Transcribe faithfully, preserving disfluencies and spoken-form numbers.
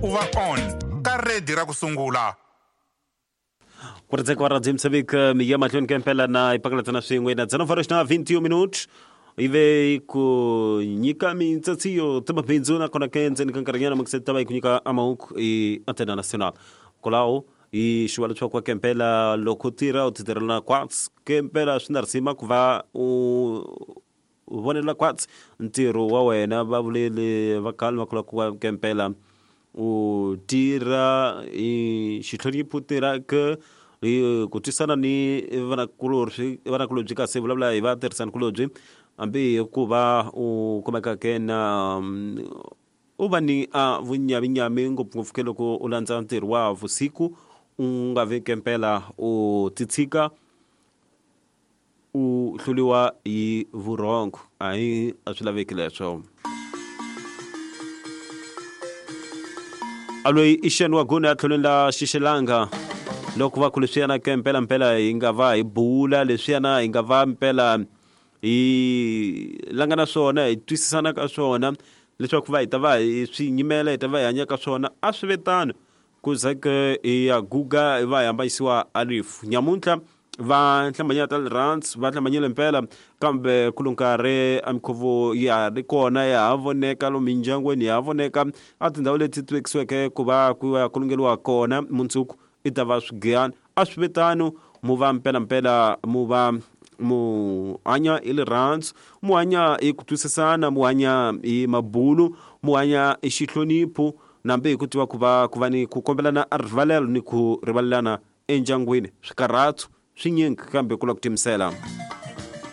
U va on ka redi ra ku sungula. Ku ri tseko wa radio Moçambique mi ya mahlweni ka mpela na ipakalatsana swin'we na dzana horas na vinte e um minutos ive ku nyika mintsatsiyo ta mabindzu nakona ke ndzeni ka nkarhinyana mukise ta va yi ku nyika amahungu i antena nacional kwalaho hi xiva leswaku ke mpela loko u tirha u ti tirhela kwatsi ke mpela swi na risima ku va u vonela kwatsi ntirho wa wena va vuleli va khale va kula ku va ke mpela u tirha hi xihlonipho u tirha ke hi ku twisana ni vanakulorhi vanakulobye kasi vulavula hi vatirhisanikulobye hambi ku va u kumeka ke na u va ni a vunyavinyami ngopfungopfu ke loko u landza ntirho wa vusiku u nga vi ke mpela u titshika u hluliwa hi vurhongo a hi a swi laveki leswo. A loyi i Xen wa Guna tlhelweni la Xixelanga loko va ku leswiyana ke mpela mpela hi nga va hi bula leswiyana hi nga va mpela hi langa na swona hi twisisana ka swona leswaku va hi ta va hi swi nyimela hi ta va hi hanya ka swona a swi ve tano ku za ke hi ya guga hi va hi hambanyisiwa a rifu nyamuntlha va hlambanyela ta rirhandzu va hlambanyele mpela kambe ku lo nkarhi a minkhuvo ya ha ri kona ya ha voneka lomu mindyangwini ya ha voneka a tindhawu leti ti vekisiweke ku va ku ya kulungeliwa kona mundzuku i ta va swigiyani a swi ve tano mu va mpelampela mu va mu hanya hi rirhandzu mu hanya hi ku twisisana mu hanya hi mabulu mu hanya hi xihlonipho nambe hi ku tiva ku va ku va ni ku kombelana a rivalelo ni ku rivalelana endyangwini swikarhatso swinyingi kambe ku la ku timisela.